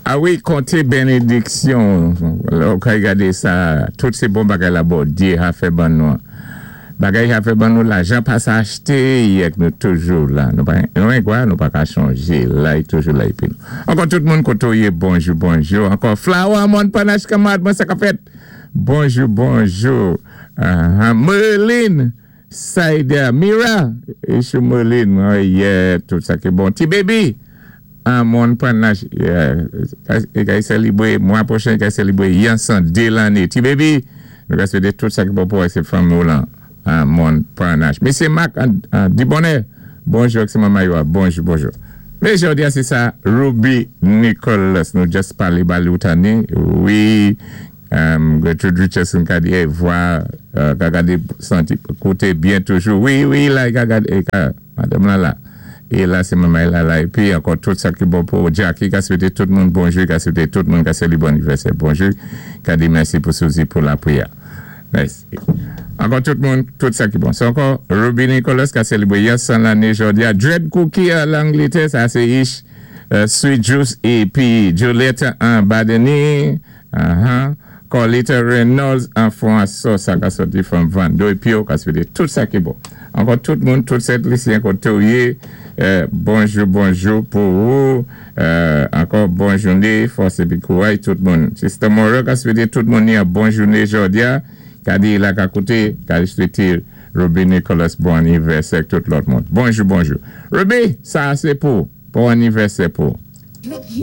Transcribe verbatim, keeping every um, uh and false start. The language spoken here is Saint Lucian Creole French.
A wi, konté bénédiksyon. Lè ou kay gadé sa, tout sé bon bagay la Bondyé ka fè ban nou. Bagay ka fè ban nou, lajan pa sa achté, yèk nou toujou la. Nou pa, nou kwa, nou pa ka chanjé, la, y toujou la épi nou. Ankò tout moun koto yé, bonjou, bonjou. Ankò Flower Mon Panache Kamad, mwen sa ka fèt. Bonjou, bonjou. Uh, Merlin, Saïda, Mira, Issue Merlin, oh yeah, tout sa ki bon. Ti baby, an Mon Panache, yeah, i kay sélébwé, mwa pwochen, i kay sélébwé, yon san dé lanné. Ti baby, nou ka swété tout sa ki bon pou sé fanmi lan, an Mon Panache. Mesye Marc, an, an, Dibonè, bonjou, ak sé manman yo, bonjou, bonjou. Mais jodi a, sé sa, Ruby Nicholas, nou just palé ba li ou tanné, wi, um, Gertrude Richardson ka di, eh, vwa, euh, ka gadé santi, kouté byen toujou, wi, wi, la, ka gadé, ka, madanm la la, é la sé manman la la, épi ankò tout sa ki bon pou Jackie, ka swété tout moun bonjou, ka swété tout moun ka sélébré bon anivèsè, bonjou, ka di mèsi pou Suzy pou lapriyè. Mèsi. Ankò tout moun, tout sa ki bon. Sé ankò Ruby Nicholas ka sélébré yon san lanné jodi a. Dread Cookie a Langletè, sa sé Ish, euh, Sweet Juice épi Juliette an Badeni, uh-huh. Colita Reynolds an François, sa ka soti from Vando épi yo ka swété tout sa ki bon. Ankò tout moun, tout Sent Lisyen koté ou yé, euh, bonjou, bonjou pou ou, euh, ankò bon jouné, fòs épi kouray tout moun. Sister Moreau ka swété tout moun ni yon bon jouné jodi a, ka di la ka kouté, ka swété Ruby Nicholas bon anivèsè tout lòt moun. Bonjou, bonjou. Ruby, sa sé pou, bon anivèsè pou.